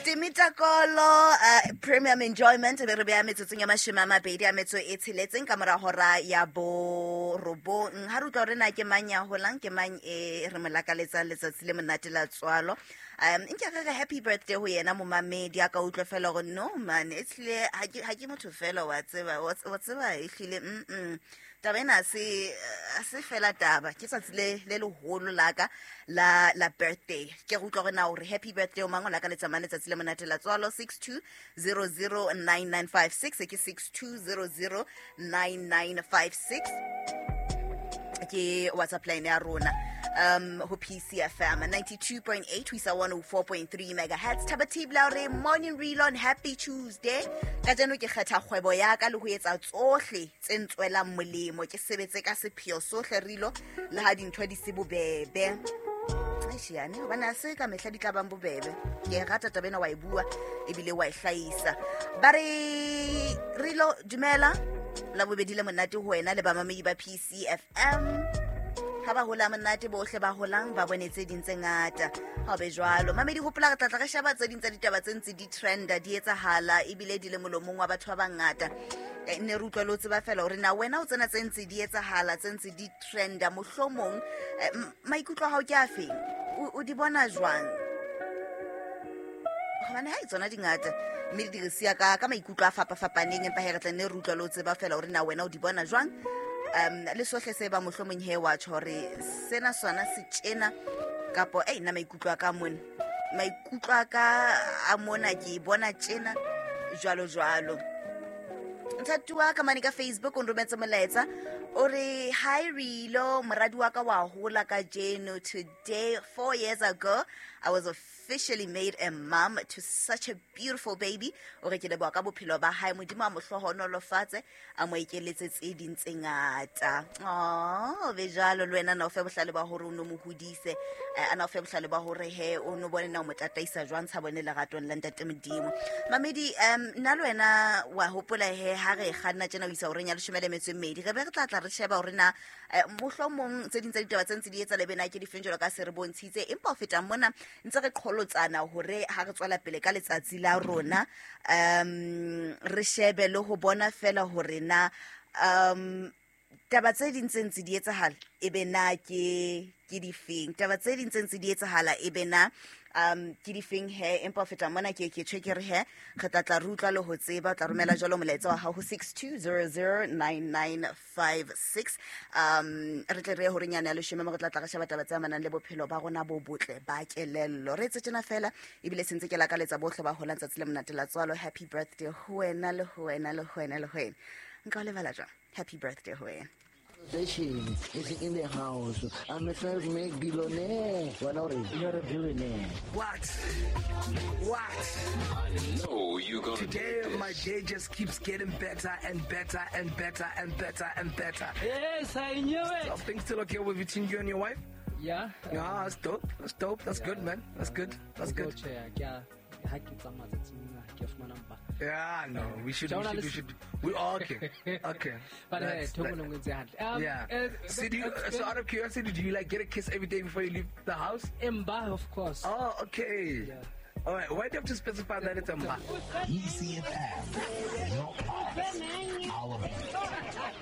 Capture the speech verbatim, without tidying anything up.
Timitakolo uh, premium enjoyment be re beya metsotsong ya mashome a mabedi a metso e tsheletseng ka mora hora ya borobong. Ha re utlwa hore na ke mang ya holang, ke mang e re mo lakaletsang letsatsi le monate la tswalo. Um nke re re happy birthday ho yena momamedi a ka utlwa fela hore no man, e hlile ha ke ha ke motho fela wa tseba, wa wa tseba e hlile mm mm. Taba ena ha se ha se fela taba, ke tsatsi le le leholo la ka la la birthday. Ke re utlwa hore na hore happy birthday o mang o lakaletsa mang letsatsi le monate la tswalo. Six two zero zero nine nine five six, ke six two zero zero nine nine five six ke WhatsApp line ya rona um ho P C F M ninety-two point eight ho isa one oh four point three megahertz. Thaba Tibla re morning reel on happy Tuesday. Kajeno ke kgetha kgwebo ya ka le ho etsa tsohle tse ntswelang molemo, ke sebetse ka sepheo sohle rilo le ha dintho di se bobebe. Eish, yane, hobane ha se ka mehla di tla bang bobebe. Ke e rata taba ena wa e bua ebile wa e hlahisa. Ba re Rilo dumela la bobedi le monate ho wena le bamamedi ba P C F M. Ha ba hola monate bohle ba holang ba bone tse ding tse ngata. Ha o be jwalo. Mamedi hopola re tla tla re sheba tse ding tsa ditaba tse ntse di trenda, di etsahala ebile di le molomong wa batho ba bangata. Eh, ne re utlwa le ho tseba fela hore na wena o tsena tse ntse di etsahala, tse ntse di trenda, mohlomong, eh, m-, maikutlo a hao ke a feng? O, o di bona jwang? Hobane ha e tsona di ngata, mme di re siya ka, ka maikutlo a fapafapaneng, empa he re tla nne re utlwa le ho tseba fela hore na wena o di bona jwang. Um, le sohle se ba mohlomong he wa tjho hore sena sona se tjena kapo, ei, nna maikutlo a ka mona, maikutlo a ka a mona ke e bona tjena jwalo jwalo. Nthatuwa ka mane ka Facebook o nrometse molaetsa o re hi Rilo, moradi wa ka wa hola kajeno. Today four years ago I was officially made a mom to such a beautiful baby. O re ke leboha ka bophelo ba hae, Modimo a mo hlohonolofatse, a mo ekeletse tse ding tse ngata. Oh, be jwalo le wena na o fe bohlale ba hore o no mo hodise, eh, a na o fe bohlale ba hore he o no bone na o mo tataisa jwang tsha bone leratong la Ntate Modimo. Mamedi, um, nna le wena wa hopola he ha re kganna tjena ho isa horeng ya leshome le metso e mmedi, re be re tla tla re sheba hore na, eh, mohlomong tse ding tsa ditaba tse ntse di etsa le bena ke difeng jwalo ka se re bontshitse. Empa ho feta mona ntse re qholotsana hore ha re tswela pele ka letsatsi la rona, um, re shebe le ho bona fela hore na, um, taba tse ding tse ntse di etsahala e be na ke, ke difeng, taba tse ding tse ntse di etsahala e be na, um, ke difeng he. Empa ho feta mona ke ke tjho ke re he re tla tla re utlwa le ho tseba. O tla romela jwalo molaetsa wa hao ho six two zero zero nine nine five six. Um, re tle re ye horeng yane ya leshome mo re tla tla re sheba taba tse amanang le bophelo ba rona bo botle ba kelello. Re etse tjena fela ebile se ntse ke lakaletsa bohle ba holang tsatsi le monate la tswalo. Happy birthday ho wena le ho wena le ho wena le ho wena. Nka o lebala jwang? Happy birthday ho wena. Station is in the house. I'm a self-made billionaire. Why not? You're a billionaire. What? What? I know you're gonna Today, do this. my day just keeps getting better and better and better and better and better. Yes, I knew it. Are things still okay with between you and your wife? Yeah. Yeah, that's dope. That's dope. That's Yeah. good, man. That's good. That's good. Yeah. Ha ke tsamaya tsatsing lena, ha ke a fumana mpa. Yeah, no, we should, we Jonah, should, we listen. should. We all okay. Okay. But, hey, That's Thoko that. no ngwetse hantle. Um, Yeah. uh, So, do you, that's so good. out of curiosity, do you like get a kiss every day before you leave the house? Mba, of course. Oh, okay. Yeah. All right. Why do you have to specify that it's a mba? E C F M, your pulse, our beat.